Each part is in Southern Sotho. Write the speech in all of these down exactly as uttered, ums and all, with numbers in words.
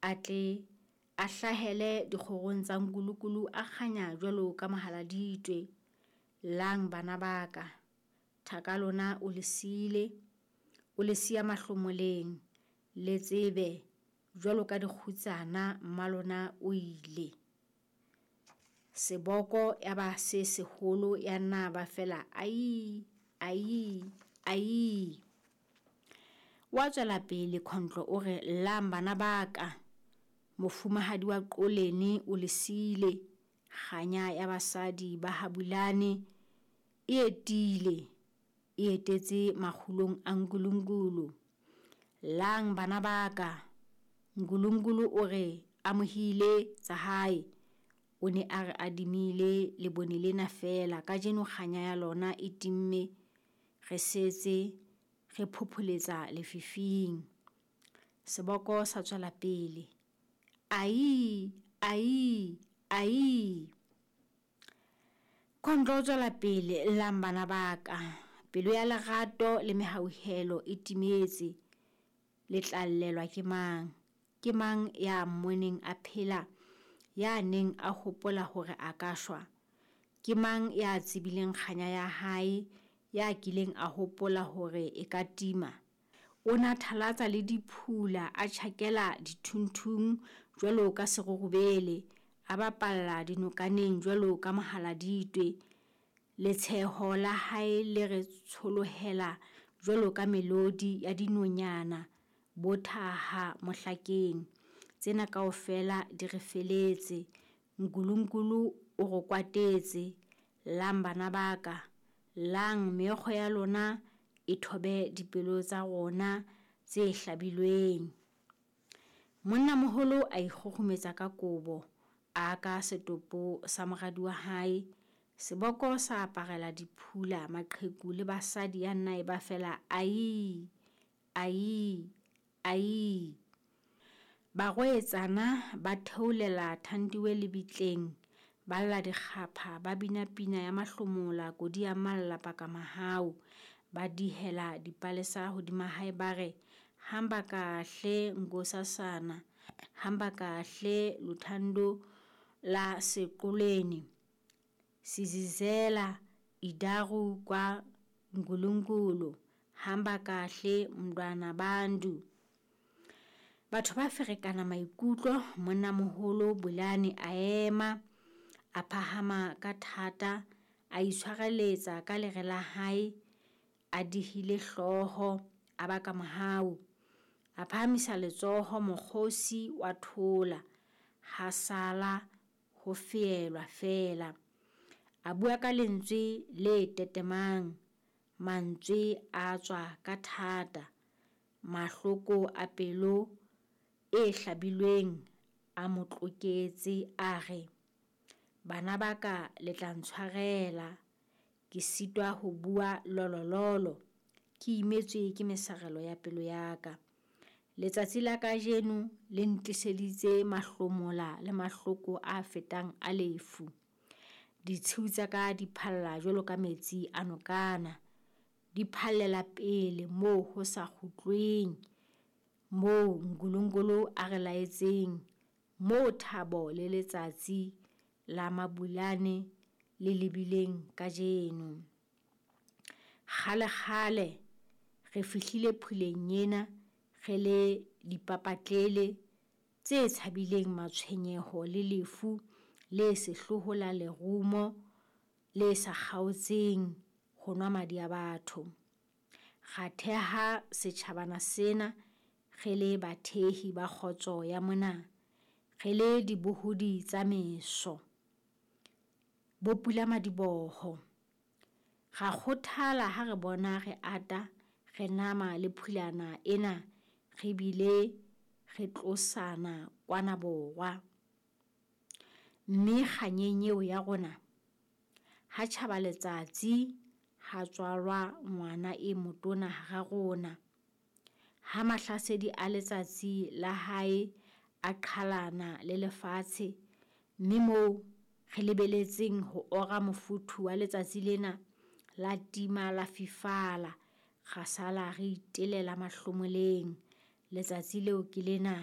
A tle a hlahele dikgorong tsa Nkulunkulu a kganya jwalo ka mohaladitwe. Llang bana ba ka, thaka lona o le siile, o le siya mahlomoleng, le tsebe jwalo ka dikgutsana mmalona o ile. Seboko ya ba se seholo ya nna ba fela aii, aii, aii. Wa tswela pele Khondlo o re llang bana ba ka, mofumahadi wa Qolene o le siile, kganya ya basadi ba ha Bulane e etile, e etetse makgulong a Nkulunkulu. Llang bana ba ka, Nkulunkulu o re amohile tsa hae, o ne a re adimile lebone lena feela, kajeno kganya ya lona e timme, re setse re phopholetsa lefifing. Seboko sa tswela pele, aii, aii, aii. Khondlo o tswela pele, llang bana ba ka, pelo ya lerato le mehauhelo e timetse, le tla llelwa ke mang? Ke mang ya mmoneng a phela, ya neng a hopola hore a ka shwa? Ke mang ya tsebileng kganya ya hae, ya kileng a hopola hore e ka tima? O na thalatsa le diphula, a tjhakela dithunthung jwalo ka serurubele, a bapalla dinokaneng jwalo ka mohaladitwe. Letsheho la hae le re tsholohela jwalo ka melodi ya dinonyana bo thaha mohlakeng. Tsena kaofela di re feletse, Nkulunkulu o re kwatetse. Llang bana ba ka, llang meokgo ya lona e thobe dipelo tsa rona tse hlabilweng. Monnamoholo a ikgukgumetsa ka kobo, a aka setopo sa moradi wa hae. Seboko sa aparela diphula, maqheku le basadi ya nna e ba fela aii, aii, aii. Barwetsana ba theolela Thandiwe lebitleng, ba lla dikgapha, ba bina pina ya mahlomola, kodi ya malla paka mahau. Ba dihela dipalesa hodima hae ba re, hamba kahle nkosazana, hamba kahle luthando la seqoleni, sizizela idaru kwa Nkulunkulu, hamba kahle mntwana bantu. Batho ba ferekana maikutlo, monnamoholo Bulane a ema, a phahama ka thata, a itshwareletsa ka lere la hae, a dihile hlooho, a baka mohau. A phahamisa letsoho, mokgosi wa thola, ha sala ho feelwa feela. A bua ka lentswe le tetemang, mantswe a tswa ka thata, mahloko a pelo e hlabilweng a mo tloketse, a re, bana ba ka le tla ntshwarela, ke sitwa ho bua lolololo, ke imetswe ke mesarelo ya pelo ya ka. Letsatsi la kajeno le ntliseditse mahlomola le mahloko a fetang a lefu. Ditshiu tsa ka di phalla jwalo ka metsi a nokana, di phallela pele moo ho sa kgutlweng, moo Nkulunkulu a re laetseng, moo thabo le letsatsi la Mabulane le lebileng kajeno. Kgale kgale re fihlile phuleng ena re le dipapatlele tse tshabileng matshwenyeho le lefu le sehloho la lerumo le sa kgaotseng ho nwa madi a batho. Ra theha setjhabana sena re le bathehi ba kgotso ya mona, re le dibohodi tsa meso, bo pulamadiboho. Ra kgothala ha re bona re ata, re nama le phulana ena, re bile re tlosana kwana borwa. Mme kganyeng eo ya rona, ha tjhaba letsatsi, ha tswalwa ngwana e motona hara rona. Ha mahlasedi a letsatsi la hae a qhalana le lefatshe, mme moo re lebeletseng ho ora mofuthu wa letsatsi lena, la tima la fifala, ra sala re itelela mahlomoleng. Letsatsi leo ke lena.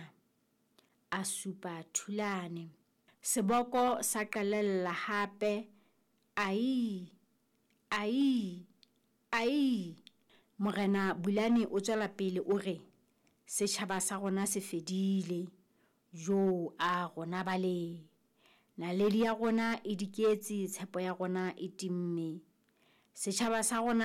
A supa Thulane. Seboko sa qalella hape, Aii! Aii! Aii! Morena Bulane o tswela pele o re, Setjhaba sa rona se fedile. Joo a rona bale! Naledi ya rona e diketse, tshepo ya rona e timme. Setjhaba sa rona.